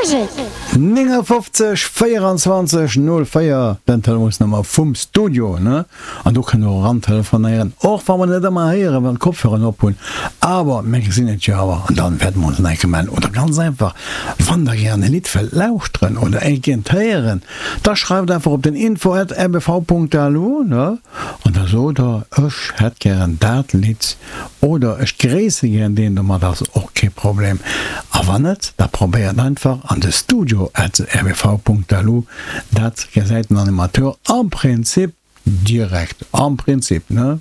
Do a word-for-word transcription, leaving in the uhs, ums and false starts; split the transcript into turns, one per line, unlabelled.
Grujeleg.
néngafofzeg véierenzwanzeg null véier, den Telefonsnummer vum Studio, ne? An do kënnt der och eran telefonéieren, och wa mer net ëmmer héieren, wann d'Kopfhöreren op hunn, awer mir gesinn et jo awer an dann wäerte mer ons nach eng Kéier mellen. Oder ganz einfach, wann der gären e Lidd wëllt lauschteren oder eent gären héieren, da schreift einfach op den info at rbv.lu, ne? An da sot der, ech hätt gären dat Lidd oder ech gréisse gären deen, domat ass och kee Problem. A wann net, da probéiert einfach an de studio at rbv.lu, dat gesäit den Animateur am Prinzip direkt, am Prinzip, ne?